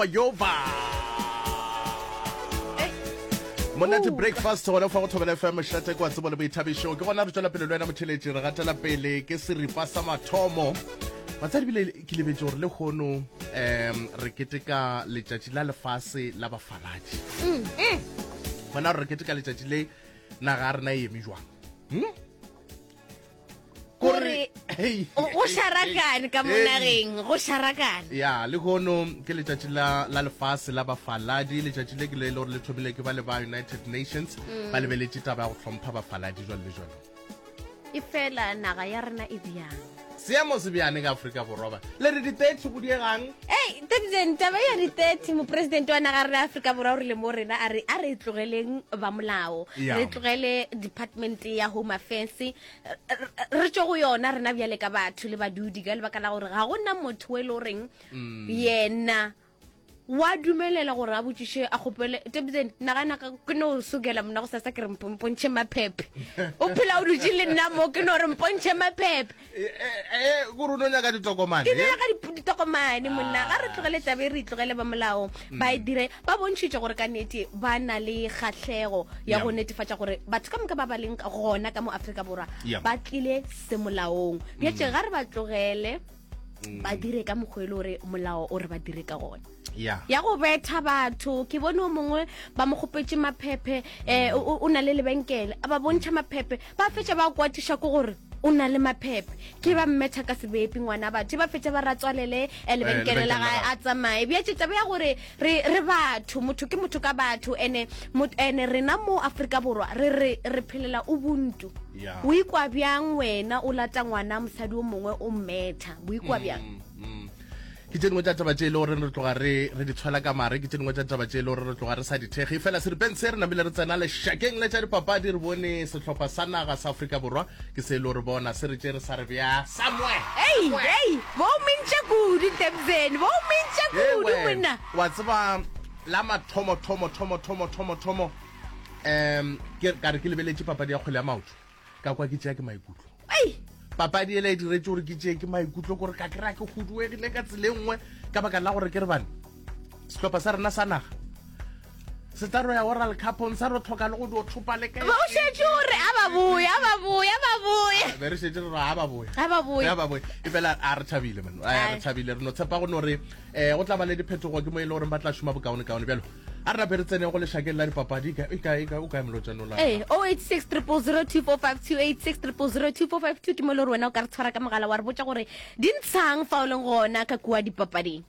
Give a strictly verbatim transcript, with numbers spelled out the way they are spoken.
Yova Yova. Monate breakfast gona fa go Thobela F M mošate kwa tsebo le boithabišo. Ke gona re tšwela pele le wena motheletši, re gatela pele ke seripa sa mathomo. Batsadi bile ke lebetše gore le kgono um re keteka letšatši la lefase la bafaladi. Gona re keteka letšatši le naga ya rena e eme jwang? Hmm? Kore go šarakane ka mo nageng, go šarakane. Ya, le kono ke letšatši la la lefase la bafaladi. Letšatši le ke le le gore le thomile ke ba le ba United Nations, ba lebeletše taba ya go hlompha bafaladi jwalo le jwalo. E fela naga ya rena e bjang? Seemo se bjane ka Afrika Borwa ba le re di-thirty go diegang? Ei, Tebzen, taba ya di-thirty, mopresidente wa naga rena Afrika Borwa o rile mo rena a re a re tlogeleng ba molao, Ya. re tlogele department ya Home Affairs, re tšwe go yona rena bjale ka batho le badudi, ka lebaka la gore ga gona motho e le goreng yena wa dumelela gore a botšiše a kgopele. Tebzen, nagana ka ke no sokela mona go sasa ke re mpo- mpontšhe maphephe, o phela o dutše le nna mo, ke no re mpontšhe maphephe. E kore o no nyaka ditokomane? Ke nyaka dip- ditokomane monna. Ga re tlogele tabe, re itlogele ba molao ba e dire. Ba bontšhitše gore ka nnete ba na le kgahlego ya Yeah. go netefatša gore batho ka moka ba ba leng gona ka mo Afrika Borwa Yeah. ba tlile semolaong. Bjatše ga re ba tlogele ba dire ka mokgwa e le gore molao o re ba dire ka gona. Ya. Ya go betha batho, ke bone o mongwe ba mo kgopetše maphephe, um o na le lebenkele, a ba bontšha maphephe, ba fetša ba kwatiša ke gore o na le maphephe, ke ba mmetha ka sebepi ngwana batho, ba fetša ba ratswalele eh, lebenkele la lebenkele la gae gagwe. a tsamaye. Bjatše taba ya gore re re batho, motho ke motho ka batho, ene mot- ene rena mo Afrika Borwa re re re phelela ubuntu. Ya. O ikwa bjang wena o lata ngwana mosadi o mongwe o mmetha, o ikwa bjang? Mm. Ke tše dingwe tša taba tše e le gore re tloga re re di tshwela ka mare, ke tše dingwe tša taba tše e le gore re tloga re sa di thekge. Fela seripeng se re namile re tsena lešakeng le tša dipapadi, re bone sehlopha sa naga sa Afrika Borwa ke se e le gore bona se re tše re sa re bja somewhere. Ei, ei, bo mentša kudu Tebzen, bo mentša Ee, kudu wena. monna. Wa tseba la mathomo thomo thomo thomo thomo thomo um ke ka re ke lebeletše papadi ya kgwele ya maoto, ka kwa ke tšea ke maikutlo. Ei, Papadi ele e diretse gore ke tšee ke maikutlo, kore ka kry-a ke huduegile ka tsela e nngwe, ka baka la gore ke re bane sehlopha sa rena sa naga se tla ro ya World Cupong sa ro tlhoka le go dio thopa le kae. Ba o šetše gore a ba boya, a ba boya, a ba boya. Be re šetše re re a ba boya. A ba boya. A ba boya. E fela a re thabile man, a Ai. re thabile, re no tshepa go no re um go tla ba le diphetogo, ke mo e le goreng ba tla šoma bokaonekaone. Bjalo a re nape re tsene go lešakeng la dipapadi. E kae- e kae- o kae molotšano la? Ee, oh eight six triple zero two four five two, eight six triple zero two four five two ke mo e le gore wena o ka re tshwara ka mogala wa re botša gore di ntshang fa o leng gona ka kua dipapading.